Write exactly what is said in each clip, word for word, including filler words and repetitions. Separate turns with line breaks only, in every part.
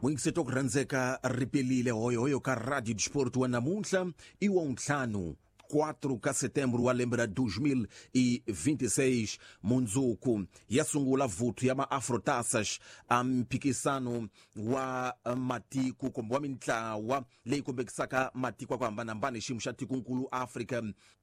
Muyingiseti ku rhandzeka ripelile hoyohoyo ka Radio Desporto wa namuntlha i wa ntlhanu quatro ka setembro wa lembe ra dois mil e vinte e seis mundzuku ya sungula vuthu ya maafrotaças a mphikisano wa matiko kumbe wa mintlawa leyi kombekisaka matiko ya ku hambanahambana hi xiyimo xa tikonkulu Afrika.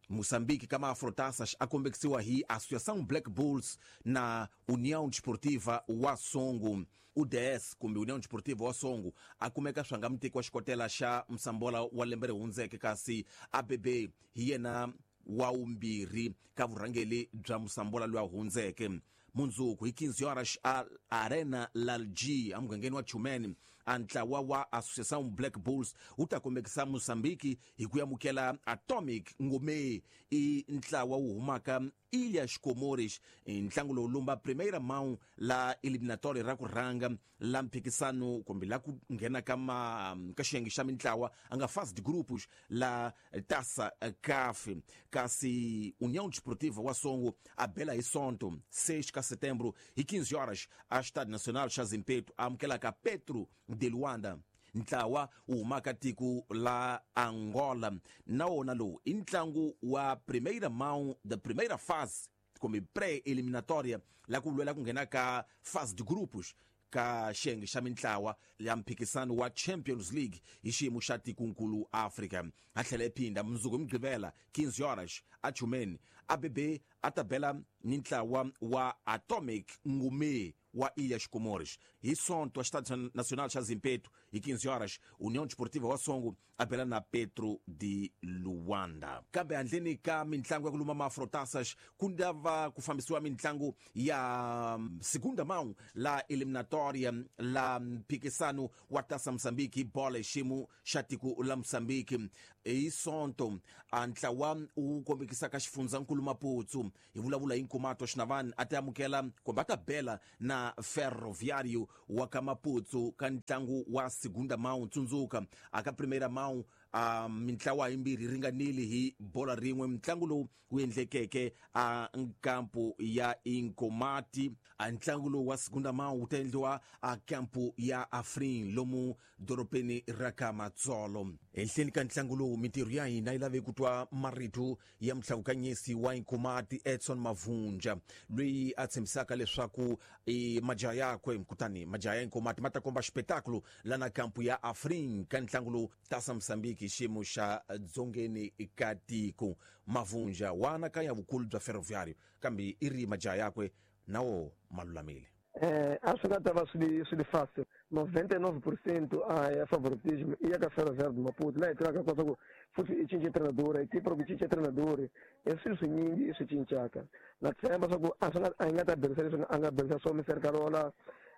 Moçambique ka maafrotaças a kombekisiwa hi Associação Black Bulls na União Desportiva wa Songo. U D S kumbe União Desportiva wa Songo a kumeka swanga muteki wa xikotela xa Msambola wa lembe ri hundzeke, kasi A B B hi yena wa vumbirhi ka vurhangeri bya Msambola loyi a hundzeke. Mundzuku hi quinze horas a Arena Lalji emugangeni wa Chumene, a ntlawa wa Associação Black Bulls wu ta kombekisa Moçambique hi ku amukela Atomic Ngome, i ntlawa wu humaka Ilhas Comores. Ntlangu lowu lumba primeira mão la eliminatória ra ku rhanga la mphikisano kumbe la ku nghena ka ma ka xiyenge xa mintlawa a nga fase de grupos la Taça C A F. Kasi União Desportiva wa Songo a bela hi Sonto seis ka setembro hi quinze horas a Estádio Nacional xa Zimpeto amukela ka Petro de Luanda, ntlawa wu humaka tiko la Angola. Na wona lowu i ntlangu wa primeira mão da primeira fase kumbe pré-eliminatória la ku lwela ku nghena ka fase de grupos ka xiyenge xa mintlawa ya mphikisano wa Champions League hi xiyimo xa tikonkulu Afrika. A tlhela i phinda mundzuku hi Mugqivela quinze horas a Chumene, A B B a ta bela ni ntlawa wa Atomic Ngome wa Ilhas Comores. Hi Sonto, Estádio Nacional xa Zimpeto, hi quinze horas, União Desportiva wa Songo a bela na Petro de Luanda. Kambe handleni ka mintlangu ya ku luma maafrotaças, ku ndava ku fambisiwa mintlangu ya segunda mão la eliminatória la mphikisano wa Taça Moçambique bola hi xiyimo xa tiko la Moçambique. Hi Sonto, a ntlawa wu kombekisaka xifundzankulu Maputo hi vulavula hi Nkomato Xinavani a ta amukela kumbe a ta bela na Ferroviário wa ka Maputo ka ntlangu wa segunda mão. Tsundzuka a ka primeira mão a mintlawa yimbirhi yi ringanile hi bola rin'we. Ntlangu lowu wu endlekeke a nkampu ya Inkomati. A ntlangu lowu wa segunda mão wu ta endliwa a kampu ya Afrin lomu dorobeni ra ka Matsolo. Ehenhleni ka ntlangu lowu mintirho ya hina yi lave ku twa marito ya muhlawukanyisi wa Inkomati Edson Mavunja loyi a tshembisaka leswaku e majaha yakwe kutani majaha ya Inkomati ma ta komba xipetakulo lana kampu ya Afrin ka ntlangu lowu Taça Moçambique hi xiyimo xa dzongeni ka tiko. Mavunja wa anakanya vukulu bya Ferroviário kambe i ri majaha yakwe na wo ma lulamile.
Eh, a swi nga ta va swi swi li fácil. noventa e nove por cento a ya favoritismo i ya ka Ferroviário de Maputo. Laha hi tivaka kota ku futhi i cince treinador, equipe ku cince treinador, i swilo swinyingi i swi cincaka. Na tshemba swa ku a swi nga a hi nga ta berisa leswi a nga berisa swo Mister Karola,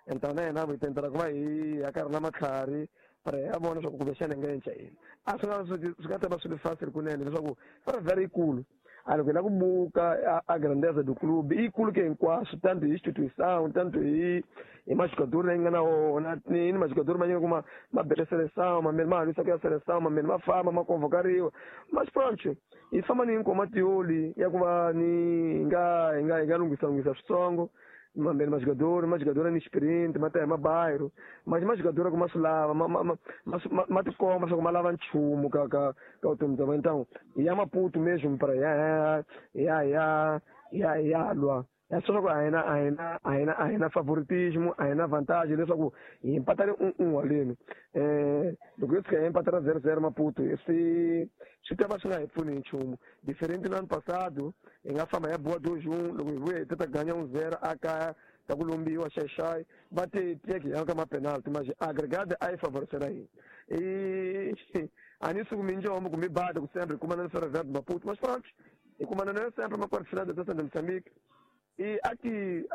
enta na yena hi tentela ku va hi ya ka ri na matlhari para ya vona swa ku kumbexana hi nga cinca yini. A swi nga swi nga ta va swi li fácil kunene leswaku Ferroviário yikulu. A loko hi lava ku buka a grandeza do clube i yikulu ke hinkwaswo, tanto hi instituição, tanto hi hi majogador leyi nga na wona, ni majogador ma nyika ku ma ma bele seleção, mamene ma halwisa ku ya seleção, mamene ma famba ma convocariwa. Mas pronto, hi famba ni Nkomatioli ya ku va ni hi nga hi nga hi nga lunghisa lunghisa switsongo. Mamene majogador, majogador ni experiente, ma ta hi mabairro, mas majogador ku ma swi lava, ma ma ma ma tikomba swa ku ma lava nchumu ka ka ka vutomi bya vona. Então ya Maputo mesmo para ya ya ya ya ya lwa ya swa ku a hi na a hi na a hi na a hi na favoritismo, a hi na vantagem leswaku hi mpatale un un haleni. Eh, loko yo tshika hi mpatala zero zero Maputo swi swi ta va swi nga hi pfuni hi nchumu. Diferente no ano passado hi nga famba hi ya boa dois um, loko hi vuya hi ta ganha um zero a kaya ta ku lombiwa xaxai va te teke hi ya ka ma-penalty, mas agregado a yi favorisela hina. I a ni suku minjombo kumbe bada ku sempre hi kumana na Ferroviário de Maputo, mas pronto, hi kumana na sempre ma quarto final da Taça de Moçambique. E aqui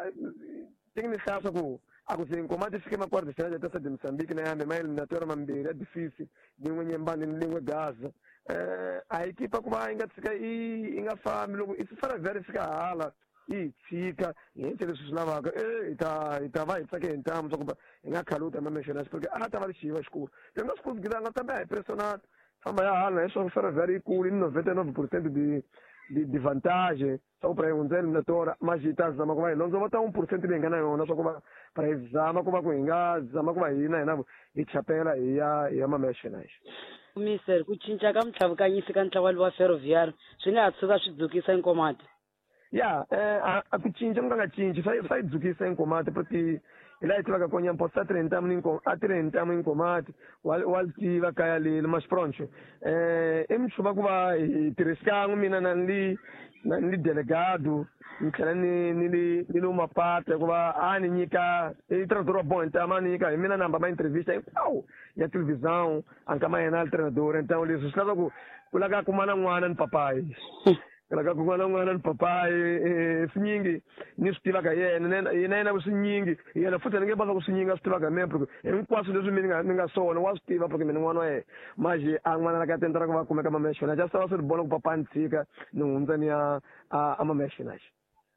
tem que deixar ku a ku se Nkomati fike ma quarto final da Taça de Moçambique na yambe ma eliminatória mambirhi ya difícil, lin'we Nyembani ni lin'we Gaza. Eh, a equipa ku va yi nga tshika yi nga fambi loko i Ferroviário fika hala yi hi tshika hi endle leswi swi lavaka, eh hi ta hi ta va hi tsake hi ntamu swa ku hi nga khaluta ma mentionas porque a ta va ri xiva xikulu. Hi nga swi koti ku nga tambe a hi pressionado famba ya hala hi swa Ferroviário yikulu ni noventa e nove por cento de de, de vantagem só para hundza eliminatória, mas hi ta zama ku va hi londzovota un percent leyi nga na yona swa ku va para hi zama ku va ku hi nga zama ku va hina hina hi chapela hi ya hi ya mamexinais.
Mister, ku cinca ka mtlhavukanyisi ka ntlawa wa Ferroviário swi nga ha tshuka swi dzukisa Inkomati?
Ya, eh, a ku cinca ku nga nga cinci swa swa yi dzukisa Inkomati porque hi laha hi tivaka kona Nyamphosa a tirhe ntamu a tirhe ntamu Inkomati wa wa tiva kaya leli mas pronto eh i mchuva ku va hi tirhisikan'we mina na ni na ni delegado ni tlhela ni ni li ni lo mapata hikuva a ni nyika i treinador wa bom então a ni nyika hi mina namba ma entrevista hinkwawo ya televisão a nkama yena a treinador então leswi swi lava ku ku lava kuma na n'wana ni papayi ku lava kuma na n'wana ni papayi swinyingi ni swi tivaka yena yena yena swinyingi yena futhi ni nge va ku swinyingi a swi tivaka mina porque hinkwaswo leswi mi nga ni nga swona wa swi tiva porque mina n'wana wa yena manje a n'wana la ka tendra ku va kumeka mamexona just va swi vona ku papa ni tshika ni hundza ni ya a mamexona.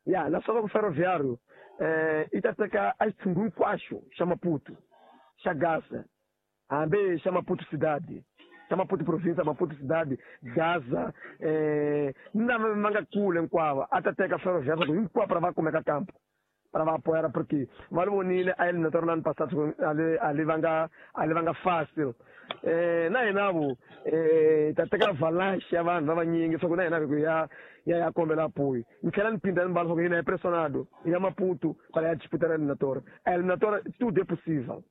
Ya, na swa ku Ferroviário eh i ta teka a xitshungu hinkwaxo xa Maputo xa Gaza hambi xa Maputo cidade xa Maputo província Maputo cidade Gaza eh ni lava va nga kule hinkwavo a ta teka Ferroviário hinkwavo para va kumeka campo para va apoiar porque va li vonile a eliminatória no ano passado ali ali va nga ali va nga fácil eh na hina vo eh ta teka avalanche ya vanhu va vanyingi swa ku na hina ku ya ya ya kombela apoio ni tlhela ni phinda ni mbala swa ku hina hi pressionado ya Maputo para ya disputar a eliminatória. A eliminatória tudo é possível,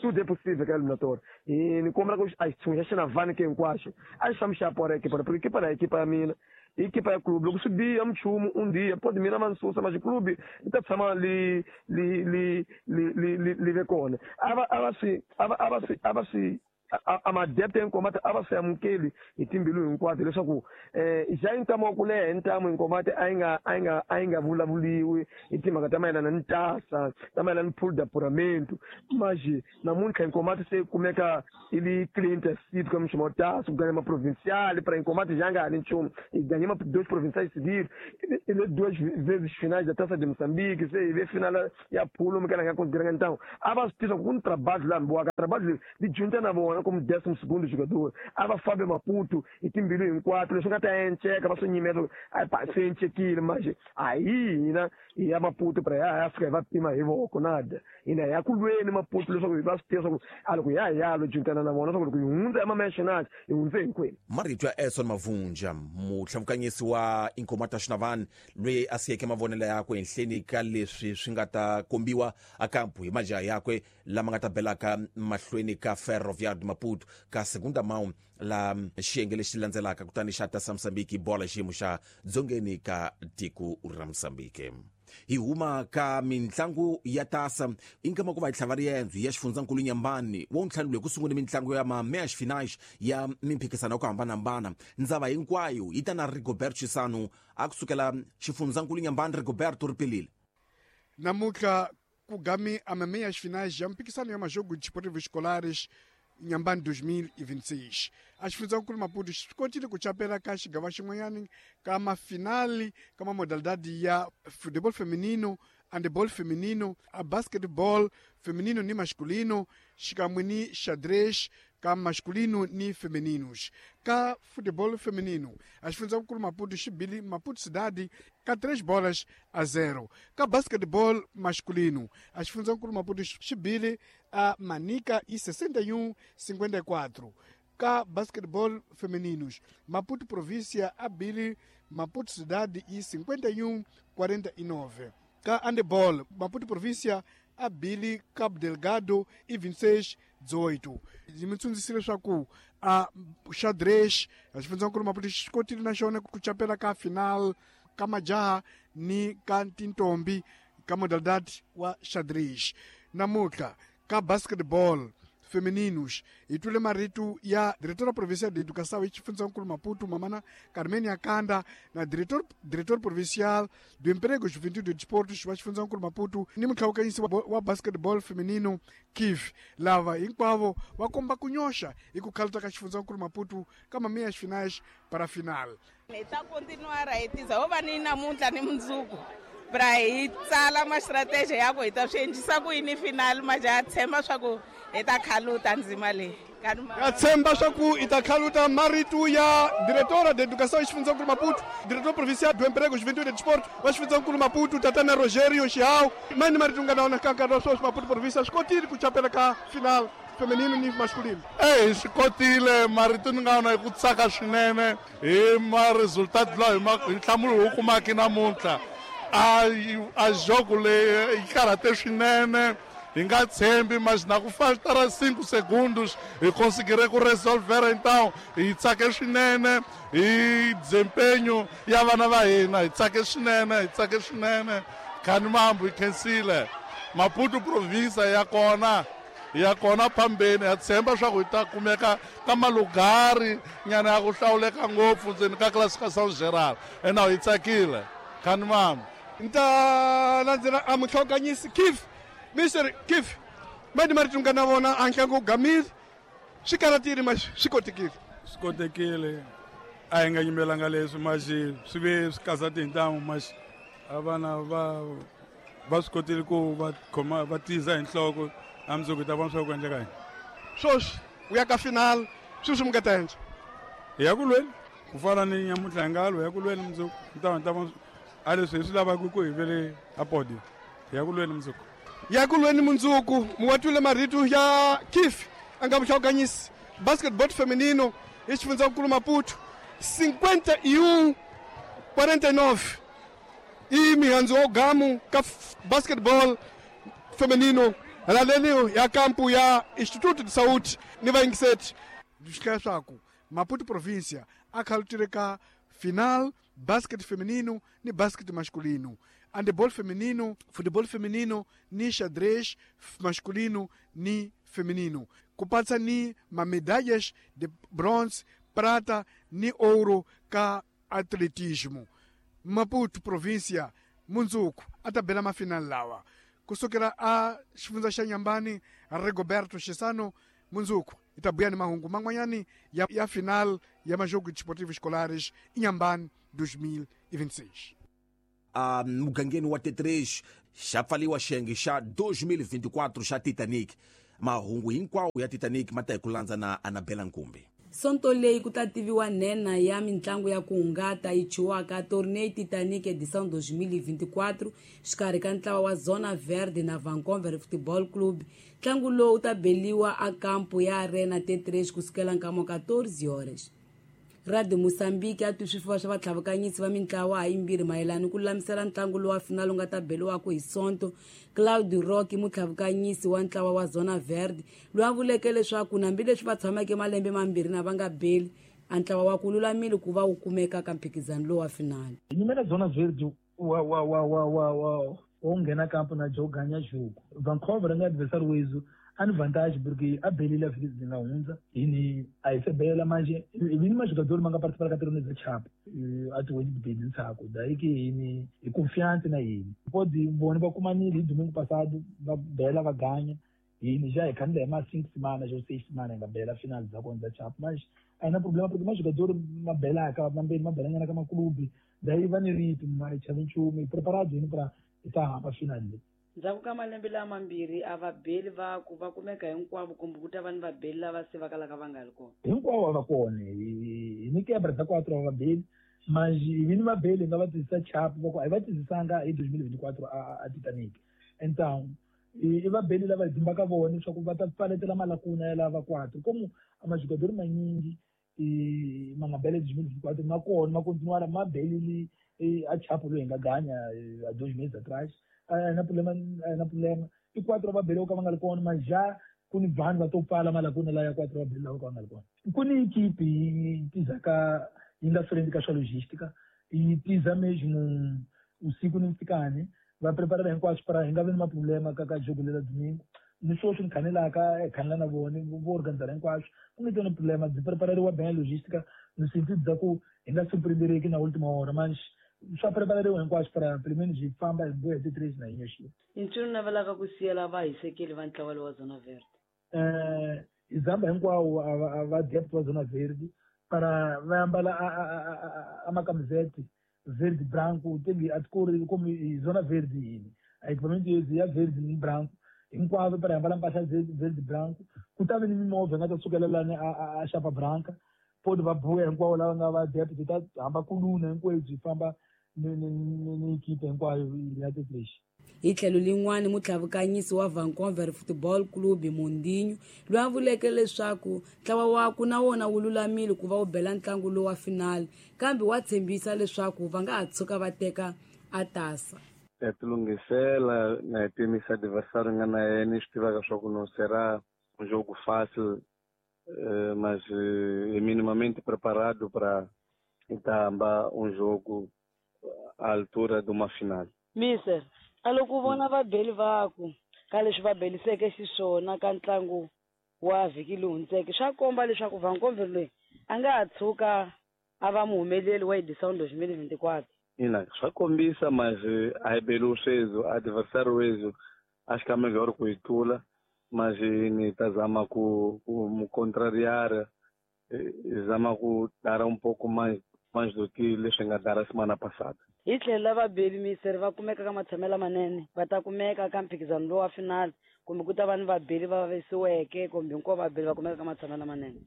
tudo é possível que a eliminatória e ni kombela ku a xitshungu xa xinavani ke hinkwaxo a xi fambi xa apoiar a equipa porque equipa na equipa ya mina equipa ya clube loko swi biha mchumu um dia pode mina va ni susa mas clube yi ta tshama li li li li li li ve kona a va a va swi a va a va swi a va swi a madepte Inkomati a va swi amukeli hi timbilu hinkwato leswaku eh xa ntamu wa ku leha ntamu Inkomati a yi nga a yi nga a yi nga vulavuliwi hi timhaka ta mayelana ni tasa ta mayelana ni pool d'apuramento mas namuntlha Inkomati se kumeka i li cliente cívico ka mchumu wa tasa ku ganha ma provincial para Inkomati já nga ha ni nchumu i ganhei ma dois provinciais seguidos e duas vezes finais da Taça de Moçambique se ve final ya pulo mi kana nga consideranga então a va swi tiva ku ni trabalho la mbiwaka trabalho li junta na vona como décimo segundo jogador a va fambe Maputo hi timbilu hinkwato leswi nga ta enceka va swi nyimela a pa se encekile mas ayi hina hi ya Maputo para ya ya fika hi va pima hi voko nada hina ya ku lweni Maputo leswaku hi va swi tiva swa ku a loko ya hi ya lo juntana na vona swa ku loko hi hundza ema-nationals hi hundze hinkwenu.
Marito ya Edson Mavunja mutlhamukanyisi wa Inkomati Xinavani loyi a siyeke mavonelo yakwe henhleni ka leswi swi nga ta kombiwa akampu hi majaha yakwe lama nga ta belaka mahlweni ka Ferroviário Maputo ka segunda mão la xiyenge lexi landzelaka kutani xa ta Moçambique bola xiyimo xa dzongeni ka tiko ra Moçambique. Hi huma ka mintlangu ya tasa inkama ku va hi tlhava riendzo ya xifundzankulu Nyambani wo ntlhanu loyi ku sungule mintlangu ya ma-meias finais ya mimphikisano ya ku hambanahambana ndzava hinkwayo yi ta na Rigoberto Chisano a kusukela xifundzankulu Nyambani. Rigoberto Ripilile
namuntlha ku gami a meias finais ya mphikisano ya majogo desportivos escolares Inhambane dois mil e vinte e seis. A xifundzankulu Maputo xi kotile ku chapela ka xigava xin'wanyani ka mafinali ka ma modalidade ya futebol feminino, handebol feminino, a basketball feminino ni masculino, xikan'we ni xadrez ka masculino ni femininos. Ka futebol feminino, a xifundzankulu Maputo xi bile Maputo cidade ka três bolas a zero. Ka basketball masculino, a xifundzankulu Maputo xi bile a Manica e sessenta e um cinquenta e quatro. Ka basketball femininos, Maputo província a bile Maputo cidade e cinquenta e um quarenta e nove. Ka handebol, Maputo província a bile Cabo Delgado e vinte e seis dezoito. Mi tsundzuxile leswaku a xadrez a xifundzankulu Maputo xi kotile na xona ku chapela ka final ka majaha ni ka tintombi ka modalidade wa xadrez. Namuntlha ka basketball femininos hi twile marito ya diretora provincial de educação e xifundzankulu Maputo mamana Carmen Akanda na diretor diretor provincial do emprego, juventude e desportos wa xifundzankulu Maputo ni mutlhawukanyisi wa, wa basketball feminino Kif lava hinkwavo va komba ku nyoxa hi ku khaluta ka xifundzankulu Maputo ka meias finais para final.
Hi ta continuar hi tiza ho va ni namuntlha ni mundzuku pra hi tsala ma strategy ya ku hi ta swi endlisa ku yini final majaha tshemba swa ku hi ta khaluta ndzima leyi.
Ya tshemba swa ku i ta khaluta marito ya diretora de educação xifundzankulu Maputo, diretor provincial do emprego, juventude e desporto wa xifundzankulu Maputo, tatana Rogério Chiao. Mani marito nga na wona ka nkarhi wa sweswi Maputo província swi kotile ku chapela ka final feminino ni masculino.
Eyi swi kotile marito ni nga wona hi ku tsaka swinene hi ma-resultat lawa hi ma hi nhlamulo hi wu kumaka namuntlha. A a jogo leyi yi karhate swinene hi nga tshembi mas na ku faltara cinco segundos hi conseguire ku resolver então hi tsake swinene hi desempenho ya vana va hina hi tsake swinene hi tsake swinene khani mambu hi khensile Maputo province ya kona ya kona phambeni ha tshemba swa ku hi ta kumeka ka malugari nyana ya ku hlawuleka ngopfu ndzeni ka classificação geral ena hi tsakile khani mambu.
Ni ta landzela a mutlhokanyisi Kif Mister Kif mani marito nga na vona a ntlangu wu gamile swi karatile ma swi kotekile.
Swi kotekile a hi nga yimelanga leswi maxi swi ve swi kasati hi ntamu maxi a vana va va swi kotile ku va khoma va tiza hi nhloko a mundzuku hi ta vona swa ku endleka yini.
Sweswi u ya ka final sweswi mi nga ta endla
hi ya ku lweni ku fana ni nyamuntlha hi nga lwa hi ya ku lweni mundzuku ni ta ni ta vona a leswi hi swi lavaka ku hi vele a podio hi ya ku lweni mundzuku.
Ya ku lweni mundzuku muwatwile marito ya Kif a nga muhlawukanyisi basketball feminino hi xifundzankulu Maputo cinquenta e um quarenta e nove i mihandzu wa gamu ka basketball feminino halaleni ya kampu ya Instituto de Saúde ni vayingiseti. Swi hlaya swaku Maputo província a khalutile ka final basket feminino ni basket masculino, handebol feminino, futebol feminino ni xadrez masculino ni feminino, ku patsa ni mamedalhas de bronze, prata ni ouro ka atletismo. Maputo província mundzuku a ta bela mafinal lawa kusukela a xifundza xa Nyambani Rigoberto Chisano. Mundzuku hi ta buya ni mahungu man'wanyani ya, ya final ya majogo desportivos escolares Inhambane dois mil e vinte e seis.
A mugangeni wa T três xa pfaliwa xiyenge xa dois mil e vinte e quatro xa Titanic. Mahungu hinkwawo ya Titanic ma ta hi ku landza na Anabela Nkumbi.
Sonto leyi ku ta tiviwa nhenha ya mintlangu ya ku hungata yi chuwaka Torneio Titanic edição dois mil e vinte e quatro xikarhi ka ntlawa wa Zona Verde na Vancouver Football Club. Ntlangu lowu wu ta beliwa a kampo ya Arena T três kusukela nkama quatorze horas. Radio Moçambique a twi swifuva swa vatlhavukanyisi va mintlawa ha yimbirhi mayelana ku lulamisela ntlangu lowu wa final wu nga ta beliwaka hi Sonto. Claudio Roque mutlhavukanyisi wa ntlawa wa Zona Verde loyi a vuleke leswaku hambileswi va tshameke malembe mambirhi na va nga beli a ntlawa wa ku lulamile ku va wu kumeka ka mphikizano lowu wa final.
Nyimela Zona Verde wa wa wa wa wa wa wo nghena kampo na jogo ganya jogo. Vancouver nga adversário wezu ani vantagem porque a belila vez nga hundza ini a se bela manje vini majogador manga participar ka torneio da chapa ati hoje de ntsako daí que ini e confiante na ele pode bom ba kumanile domingo passado va bela va ganha ini já é quando é mais cinco semanas ou seis semanas nga bela final da contra chapa mas aí não problema porque mais jogador uma bela acaba também uma bela na kama clube daí va ni ritmo mas challenge me preparado ini para estar para final.
Ndzhaku ka malembe lama mambirhi a va beli va ku va kumeka hinkwavo kumbe ku ta va ni vabeli lava se va kalaka va nga ri kona.
Hinkwavo va kona hi ni quebra da quatro va beli mas vini va beli nga va tizisa chapo va ku a hi va tizisanga hi dois mil e vinte e quatro a a Titanic. Então i va beli lava hi dimbaka vona leswaku va ta pfaletela malakuna ya lava quatro como a majogador manyingi ma nga bela dois mil e vinte e quatro ma kona ma continuar ma belile a chapo loyi hi nga ganya a dois meses atrás. Na problema na problema i quatro va bele ka va nga ri kona mas já ku ni vanhu va to pfala malakuna laya quatro va bele lava ka va nga ri kona. Ku ni equipe yi tizaka yi nga frente ka swa logística yi tiza mesmo usiku ni nsikani va preparela hinkwaswo para hi nga vi ni maproblema ka ka jogo lela domingo. Ni sweswi ni khanelaka hi khanela na vona vo organizela hinkwaswo ku nge tona problema byi prepareriwa bem logística no sentido da ku hi nga surpreendereki na última hora mas swa prepareriwa hinkwaswo para pelo menos hi famba hi boha ti três na yinye.
I ncini u navelaka ku siyela vahisekeli va ntlawa lowa Zona Verde?
Eh hi zamba hinkwawo a va depth wa Zona Verde para va ambala a macamisete verde branco tem a cor como Zona Verde yini a equipamento ya verde ni branco Hinkwavo para hi ambala mpahla verde branco. Ku ta ve ni mimovha yi nga ta sukela lani a a Chapa Branca. Poti va buya hinkwavo lava nga va depth, hi ta hamba kuluna hinkwenu byi famba ni ni ni ni equipe hinkwayo ya Tetresh.
Hi tlhelo lin'wana, mutlhavukanyisi wa Vancouver Football Club Mondinho loyi a vuleke leswaku ntlawa wakwe na wona wu lulamile ku va wu bela ntlangu lowu wa finali, kambe wa tshembisa leswaku va nga ha tshuka va teka a tasa.
Ya tilunghisela na hi pimisa adversário nga na yena, swi tivaka swa ku não será um jogo fácil, mas é minimamente preparado para hamba um jogo à altura de uma final.
Mister, a loko u vona vabeli vaku ka leswi va beliseke xiswona ka ntlangu wa vhiki lowu hundzeke, swa komba leswaku Vancouver loyi a nga ha tshuka a va muhumeleli wa edição dois mil e vinte e quatro.
Ina, swa kombisa, mas a hi beli sweswo, adversário wethu acho que é melhor ku hi tlula, mas ni ta zama ku ku mu contrariar, zama ku dar um pouco mais mais do que leswi nga dara semana passada.
Hi tlhelo la vabeli, mister, va kumeka ka matshamelo lamanene, va ta kumeka ka mphikizano lowu wa final, kumbe ku ta va ni vabeli va vavisiweke, kumbe hinkwavo vabeli va kumeka ka matshamelo lamanene?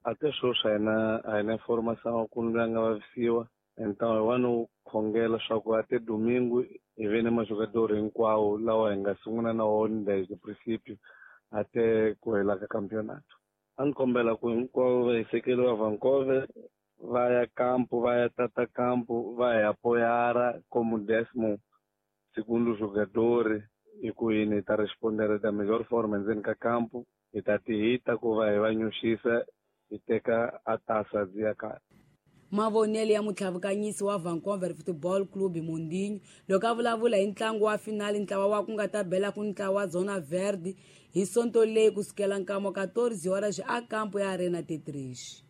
Até sweswi a hi na a hi na information ku loyi a nga vavisiwa. Então hi wani khongela swa ku até domingo hi ve ni majogador hinkwawo lawa hi nga sungula na wona desde princípio até ku hela ka campeonato. A ni kombela ku hinkwavo vahisekeli va Vancouver va ya campo, va ya tata campo, va ya apoiar como décimo segundo jogador, hi ku yini hi ta responder da melhor forma endzeni ka campo, hi ta tihita ku va hi va nyuxisa, hi teka a taça ya kaya.
Mavonelo ya mutlhavukanyisi wa Vancouver Football Club Mondinho loko a vulavula hi ntlangu wa finali, ntlawa wa ku nga ta bela ku ntlawa wa Zona Verde hi sonto leyi kusukela nkamo quatorze horas a campo ya Arena Tetris.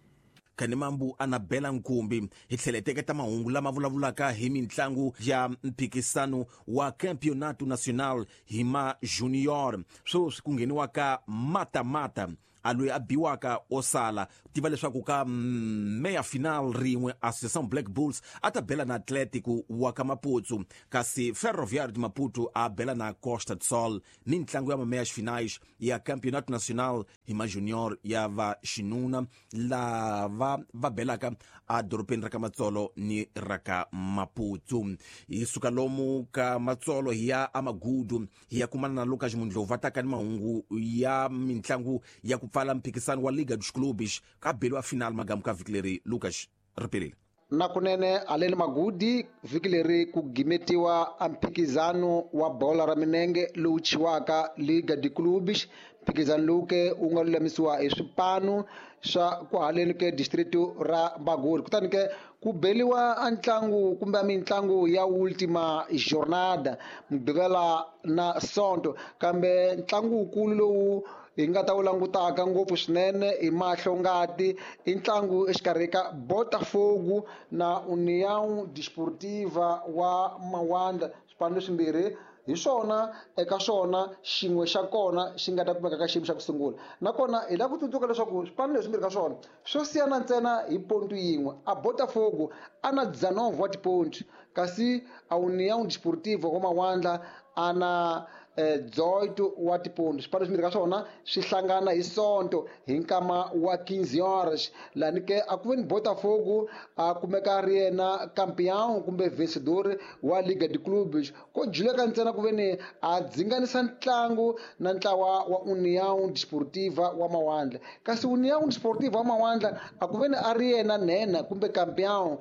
Khanimambu Anabela Nkumbi hi tlhela teketa mahungu lama vulavulaka hi mintlangu ya mphikisano wa Campeonato Nacional hi ma Junior, sweswi ku ngheniwaka mata-mata a loyi a biwaka o sala. Tiva leswaku ka meya final rin'we Associação Black Bulls a ta bela na Atlético wa ka Maputo, kasi Ferroviário de Maputo a bela na Costa do Sol. Mintlangu ya meias finais ya Campeonato Nacional hi ma Junior ya va xinuna lava va belaka a dorobeni ra ka Matsolo ni ra ka Maputo. Hi suka lomu ka Matsolo hi ya Amagudu hi ya kumana na Lucas Mundlova ta ka ni mahungu ya mintlangu ya ku pfala mphikisano wa Liga dos Clubes ka beliwa final magamu ka vhiki leri. Lucas Ripelile.
Na kunene aleni Magudi, vhiki leri ku gimetiwa a mphikizano wa bola ra minenge lowu chiwaka Liga de Clubes. Mphikizano lowu ke wu nga lulamisiwa hi swipanu swa kwahaleni ke district ra Magudi. Kutani ke ku beliwa a ntlangu kumbe a mintlangu ya ultima jornada Mugqivela na Sonto, kambe ntlangu wukulu lowu hi nga ta wu langutaka ngopfu swinene hi mahlo ngati i ntlangu exikarhi ka Botafogo na União Desportiva wa Mawanda. Swipano leswimbirhi hi swona eka swona xin'we xa kona xi nga ta kumeka ka xiyimo xa ku sungula, nakona hi lava ku tsundzuka leswaku swipano leswimbirhi ka swona swo siyana ntsena hi pontu yin'we. A Botafogo a na dezenove wa tipontu, kasi a União Desportiva wa Mawandla a na dezoito wa tipontu. Swipano swimbirhi ka swona swi hlangana hi Sonto hi nkama wa quinze horas, lani ke a ku veni Botafogo a kumeka a ri yena campeão kumbe vencedor wa Liga de Clubes, ko juleka ntsena ku veni a dzinganisa ntlangu na ntlawa wa União Desportiva wa Mawandla. Kasi União Desportiva wa Mawandla a ku veni a ri yena nhenha kumbe campeão,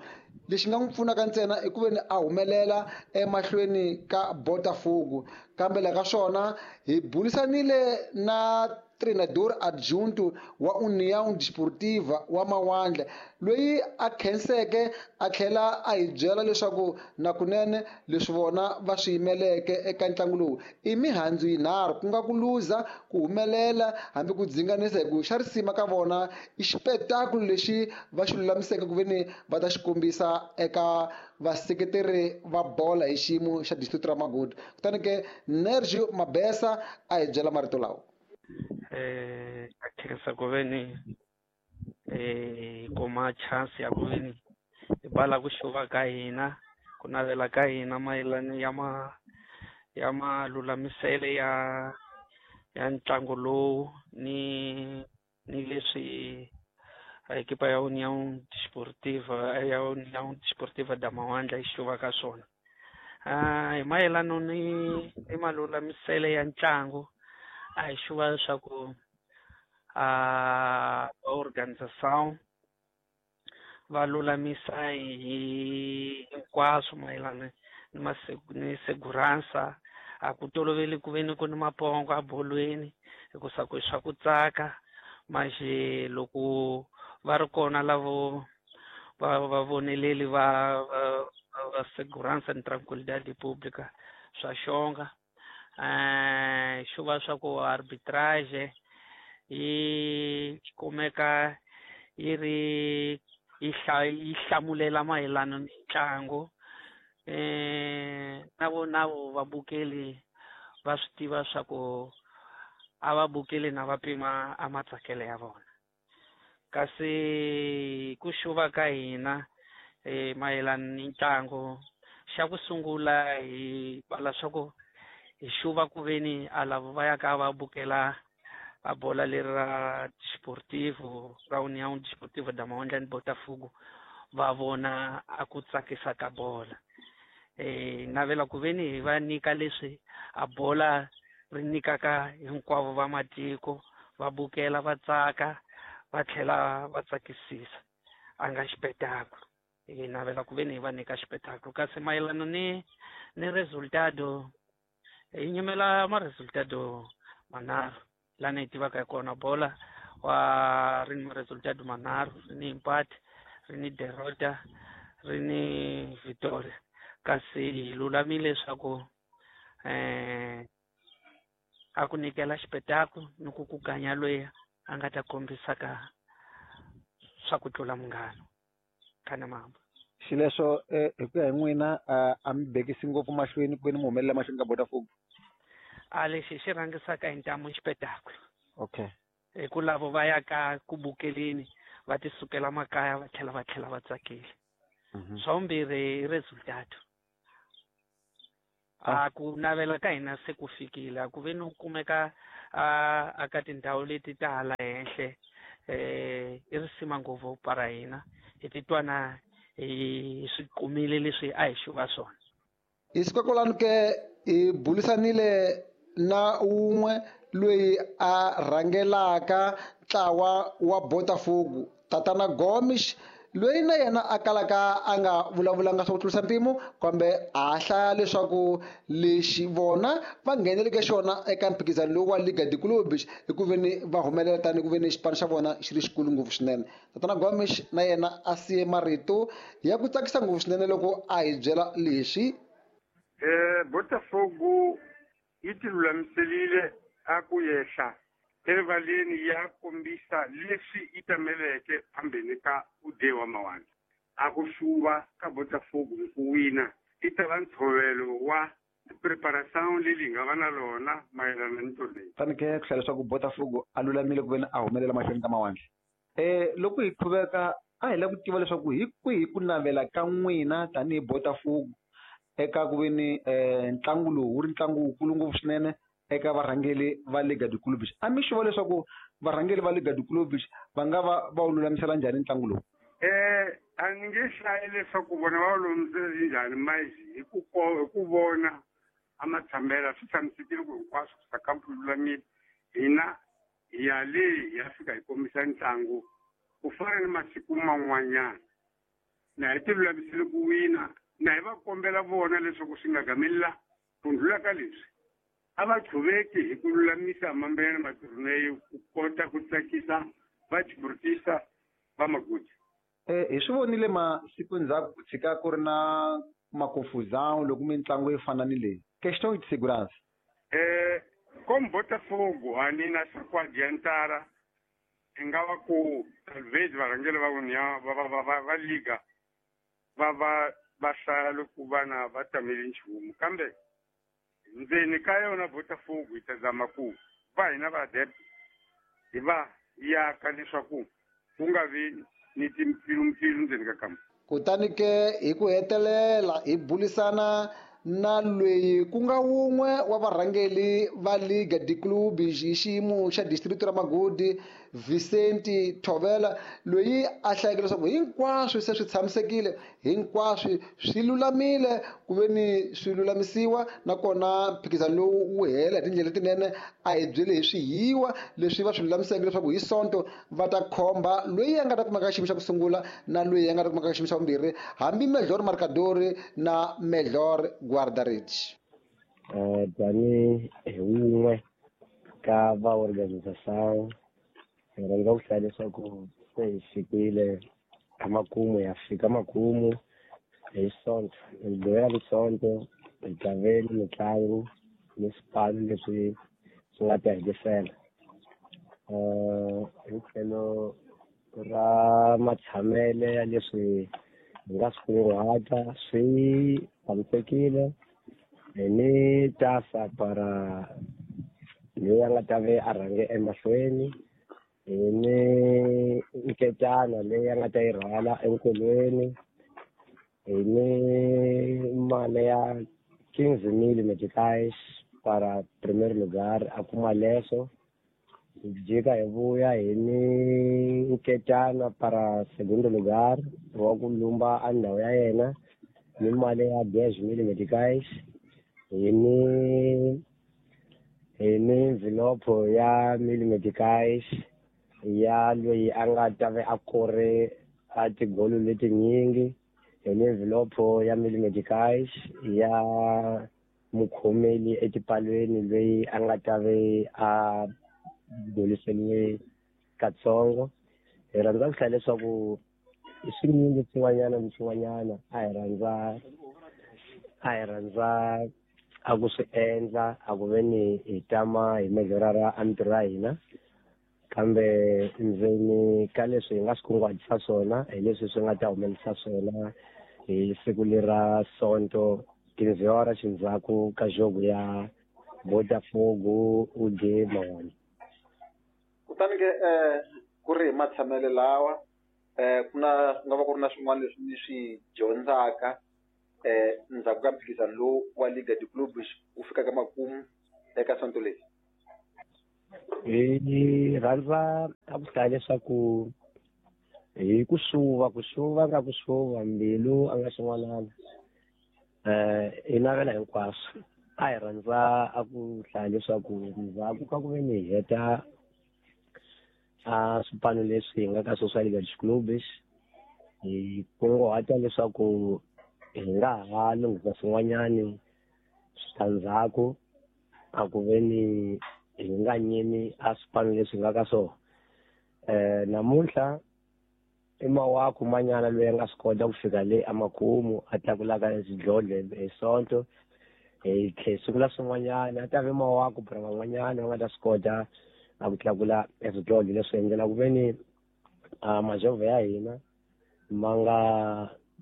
lexi nga n'wi pfunaka ntsena i ku veni a humelela emahlweni ka Botafogo. Kambe la ka swona hi burisanile na treinador adjunto wa União Desportiva wa Mawandla, loyi a khenseke a tlhela a hi byela leswaku nakunene leswi vona va swi yimeleke eka ntlangu lowu i mihandzu yinharhu, ku nga ku luza, ku humelela hambi ku dzinganisa, hi ku xa risima ka vona i xipetakulo lexi va xi lulamiseke ku veni va ta xi kombisa eka vaseketeri va bola hi xiyimo xa district ra Magudu. Kutani ke Nergio Mabesa a hi byela marito lawa.
Eh, a khensa ku veni eh kuma chance ya ku veni hi bala ku xuva ka hina, ku navela ka hina mayelana ya ma ya malulamisele ya ya ntlangu lowu ni ni leswi a ekipa ya União Desportiva ya União Desportiva da Mawandla yi xuvaka swona. Ah, hi mayelano ni ni malulamisele ya ntlangu a hi xuva leswaku a organização va lulamisa hi hinkwaswo mayelana ni ni segurança. A ku toloveli ku ve ni ku ni mapongo a bolweni hikusa ku swa ku tsaka manje loko va ri kona lavo va va voneleli va va segurança ni tranquilidade pública swa xonga. Eh xo va swa ku arbitrage yi kumeka yi ri yi yi hlamulela mayelana ni ntlangu. Eh na vona vabukeli va swi tiva swa ku a va bukeli na va pima a matsakelo ya vona. Kasi ku xuva ka hina eh mayelana ni ntlangu xa ku sungula hi vala swa ku hi xuva ku veni a lava va ya ka va bukela a bola leri ra Desportivo ra União Desportiva da Mawandla ni Botafogo va vona a ku tsakisa ka bola. Eh navela ku veni hi va nyika leswi a bola ri nyikaka hinkwavo va matiko va bukela va tsaka va tlhela va tsakisisa a nga xipetakulu. Hi navela ku veni hi va nyika xipetakulu. Kasi mayelana ni ni resultado hi nyimela ma resultado manharhu lana hi tivaka hi kona bola wa ri ni ma-resultado manharhu, ri ni empate, ri ni derrota, ri ni victoria. Kasi hi lulamile leswaku eh a ku nyikela xipetakulu ni ku ku ganya loyi a nga ta kombisaka swa ku tlula munghana khana mamba.
Xileswo hi ku ya hi n'wina a mi bekisi ngopfu mahlweni ku ve ni mi humelela mahlweni ka Botafogo?
A lexi xi rhangisaka hi ntamu xipetakulu.
Okay.
Hi ku lavo va ya ka ku bukeleni va ti sukela makaya va tlhela va tlhela va tsakile. Swa vumbirhi i resultado. A ku navela ka hina se ku fikile a ku ve ni ku kumeka a ka tindhawu leti ta hala henhle eh i risima ngopfu para hina hi titwa na hi swi kumile leswi a hi xuva swona.
Hi siku kwalano ke hi bulisanile na wun'we loyi a rhangelaka ntlawa wa Botafogo Tatana Gomes loyi na yena a kalaka a nga vulavulanga swa ku tlurisa mpimo kambe a hlaya leswaku lexi vona va ngheneleke xona eka mphikizano lowu wa Liga de Clubes hi ku veni va humelela tani ku veni xipano xa vona xi ri xikulu ngopfu swinene. Tatana Gomes na yena a siye marito ya ku tsakisa ngopfu swinene loko a hi byela leswi.
Eh Botafogo yi ti lulamiserile a ku yehla erivaleni ya kombisa leswi yi tameleke phambeni ka ude wa Mawandla. A ku xuva ka Botafogo hi ku wina i ta va ntshovelo wa preparação leyi hi nga va na lona mayelana ni leyi.
Fanekele ku hlaya leswaku Botafogo a lulamile ku veni a humelela mahlweni ka Mawandla. Eh loko hi qhuveka a hi lava ku tiva leswaku hi kwihi ku navela ka n'wina tanihi Botafogo eka ku veni eh ntlangu lowu wu ri ntlangu wukulu ngopfu swinene eka varhangeli va Liga de Clubes. A mi xuva leswaku varhangeli va Liga de Clubes va nga va va wu lulamisela njhani ntlangu lowu?
Eh a ni nge hlayi leswaku vona va wu lulamisela njhani manje hi ku hi ku vona a matshambela swi tshamisekile ku hinkwaswo swa kampu lulamile. Hina hi ya le hi ya fika hi kombisa ntlangu ku fana ni masiku man'wanyana na hi ti lulamisele ku wina na hi va kombela vona leswaku swi nga gamelela ku ndlula ka leswi a va qhuveki hi ku lulamisa mambena maturneyo ku kota ku tsakisa va tiburtisa va magudi.
Eh hi swi vonile masiku ndzhaku ku tshika ku ri na makufuzão loko mitlangu yi fana ni leyi. Questão de segurança.
Eh como Botafogo a ni na swa ku adiantara i nga va ku talvez varhangeri va União va va va va liga va va va hlaya loko vana va tamele nchumu kambe ndzeni ka yona Botafogo yi ta zama ku va hina va adepto hi va yaka leswaku ku nga vi ni timpfilumpfilu ndzeni ka kampa.
Kutani ke hi ku hetelela hi bulisana na loyi ku nga wun'we wa varhangeli va Liga de Clubes hi xiyimo xa district ra Magodi, Vicente Thovela, loyi a hlayeke leswaku hinkwaswo se swi tshamisekile, hinkwaswo swi lulamile ku ve ni swi lulamisiwa, nakona mphikizano lowu wu hela hi tindlela letinene. A hi byele hi swihiwa leswi va swi lulamiseke leswaku hi Sonto va ta khomba loyi a nga ta kumeka xiyimo xa ku sungula na loyi a nga ta kumeka xiyimo xa vumbirhi, hambi melhor marcador na melhor guarda-redes.
Uh, tanihi hi wun'we ka va organização, hi rhandza ku hlaya leswaku se hi fikile emakumu, ya fika makumu hi Sonto, hi Mugqivela Sonto hi tlangele mitlangu ni swipano leswi swi nga ta hetisela. Uh, hi tlhelo ra matshamele ya leswi hi nga swi kunguhata swi tshamisekile. Hi ni tasa para loyi a nga ta ve a rhange emahlweni, hi ni nketana leyi a nga ta yi rhwala enkolweni, hi ni mali ya quinze mil meticais para primeiro lugar a kuma leswo. Hi jika hi vuya hi ni nketana para segundo lugar wa ku lumba a ndhawu ya yena ni mali ya dez mil meticais. Hi ni hi ni envelope ya mil meticais ya loyi a nga ta ve a kore a tigolo letinyingi, hi ni envelope ya mil meticais ya mukhomeli etipalweni loyi a nga ta ve a goliseliwe katsongo. Hi rhandza ku hlaya leswaku i swinyingi swin'wanyana ni swin'wanyana a hi rhandza a hi rhandza a ku swi endla a ku ve ni hi tama hi melhorara a mintirho ya hina, kambe ndzeni ka leswi hi nga swi kunguhatisa swona hi leswi swi nga ta humelerisa swona hi siku lera Sonto quinze horas xindzhaku ka jogo ya Botafogo U D Mawani.
Kutani ke eh ku ri hi matshamele lawa eh ku na ku nga va ku ri na swin'wana leswi ni swi dyondzaka eh ndzhaku ka mphikizano lowu wa Liga de Clubes wu fikaka makumu eka Sonto leyi.
Hi rhandza a ku hlaya leswaku hi ku xuva ku xuva nga ku xuva mbilu a nga xin'wanana eh hi navela hinkwaswo. A hi rhandza a ku hlaya leswaku ndzhaku ka ku ve ni hi heta a swipano leswi hi nga ka swo swa Liga de Clubes, hi kunguhata leswaku hi nga ha lunghisa swin'wanyani switandzhaku a ku ve ni hi nga nyimi a swipano leswi hi nga ka swona. Eh namuntlha i Mawaku manyana loyi a nga swi kota ku fika le emakumu a tlakulaka xidlodlo hi Sonto, hi tlhe sungula swin'wanyana a ta ve Mawaku para van'wanyana va nga ta swi kota a ku tlakula eswidlodlo leswi endlela ku ve ni majovho ya hina ma nga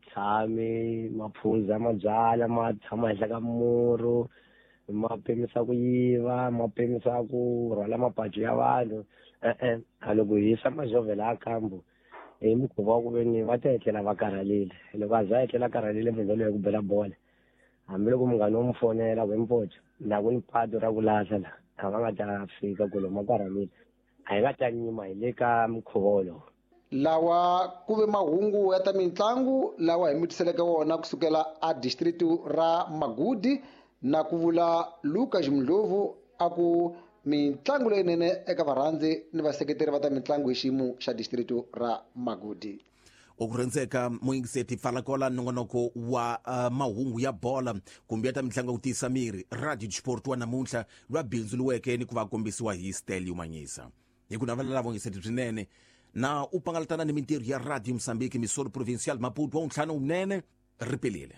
tshami ma phuza mabyala ma tshama henhla ka murhu, ma pimisa ku yiva, ma pimisa ku rhwala mapacu ya vanhu. E-e, a loko hi yisa majovho laha kambu hi mukhuva wa ku ve ni va ta etlela va karhalile. Loko a za a etlela karhalile munhu loyi ku bela bola, hambiloko munghana wo n'wi fonela ku hi mpoco laha ku ni patu ra ku lahla la a va nga ta fika ku lomu a karhalile, a hi nga ta nyima hi le ka mukhuva wolowo.
Lawa ku ve mahungu ya ta mitlangu lawa hi mi tiseleke wona kusukela a district ra Magudi, na ku vula Lucas Mdlovu a ku mitlangu leyinene eka varhandzi ni vaseketeri va ta mitlangu hi xiyimo xa district ra Magudi.
Okurenzeka muyingiseti pfalakola nongonoko wa uh, mahungu ya bola kumbe ya ta mitlangu ku tiyisa miri Radio Sport wa namuntlha lwa bindzu luweke ni ku va kombisiwa hi Stelio Manyisa. Hi ku navela lavo yingiseti swinene na u pangalatana ni mintirho ya Radio Mozambique Missouri Provincial Maputo wa ntlhanu wunene ripelile.